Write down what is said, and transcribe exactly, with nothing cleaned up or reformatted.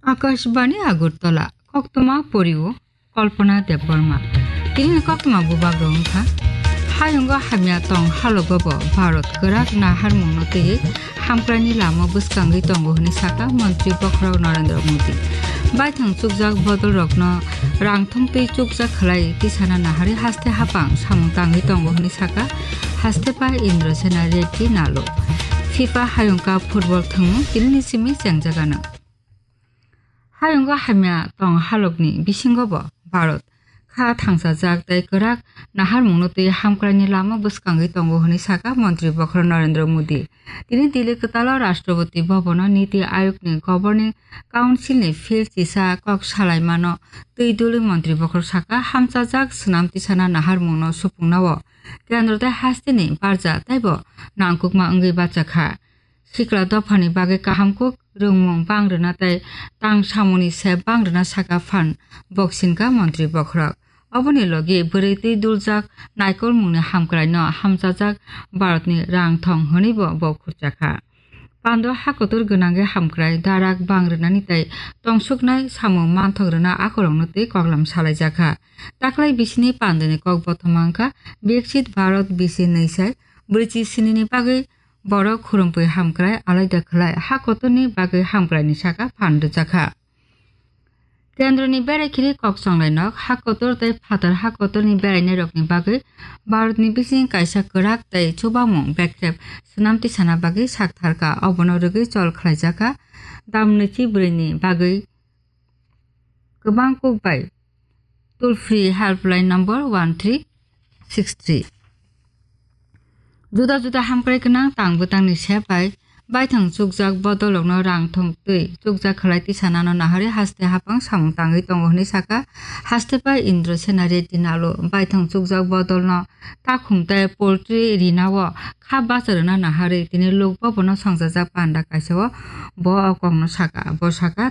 Akashbani Agartala, koktwma porio Kalpana Debbarma. Tini koktwma bubak rok wngkha. Hayungo hamya tong halogo bo Bharat kwrak naharmungno twiwi hamkraini lama bwskangwi tongo hwnwi sakha Montri Bokhorok Narendra Modi. Baithang chukjak bodol rokno rang thumtwi chukjak khlai tisana naharwi haste hapang samung tangwi tongo hwnwi sakha haste pai Indra Sena Reddy Nalo. FIFA Hayung Cup football thwngmung tinini simi chengjagano. Hayungo hamya tong halokni bisingo bo Bharat kha thangsajak tei kwrak naharmungno twi hamkraini lama bwskangwi tongo hwnwi sakha Montri Bokhorok Narendra Modi. Tini Delhi kwtalo Rashtrapati Bhavan-o Niti Ayogni Governing Council-ni phil chisa kok salaimano twi dulwi Montri Bokhorok sakha, hamchajak swnam tisana naharmungno supungnao kendro tei hasteni barja teibo nangkukma wngwi bachakha. Sikla dophani bagwi kaham kuk rwngmung bang rwna tei tang samungni sep bang rwna sakha phan boksinka Montri Bokhorok. Oboni logi bwrwi twi duljak naikolmungni hamkraino hamchajak Bharatni rang thong hwnwibo bo khurchakha. Pando hakotor gwnangwi hamkrai darak bang rwnani tei tongsuknai samung manthok rwna akorokno twi koklam salaijakha. Taklai bisini pandoni kok bothoma wngkha Viksit Bharat bisi nwi sai brwichi sinini bagwi borok khurumtwi hamkrai alaida khlai ha kotorni bagwi hamkraini saka phan rwjakha. Kendroni berai khiri kok chonglai nok ha kotor tei phatar ha kotorni berainairokni bagwi Bharatni bising kaisa kwrak tei chubamung bekrep swnam tisana bagwi saktharkha, obono rwgwi chol khlaijakha. Damnwichi bwrwini bagwi kwbang kuk bai toll free helpline number one three six three. Juda juda hamkrai gwnang tang bwtangni sep bai baithang chukjak bodolrokno rang thong twi chukjak khlai tisanano naharwi haste hapang samung tangwi tongo hwnwi sakha haste pai Indra Sena Reddy Nalo. Baithang chukjak bodolno takhum tei poultry rinao kha bacha rwna naharwi tini Lok Bhavan-o songchajak panda kaisao bo o kokno sakha. Bo sakha,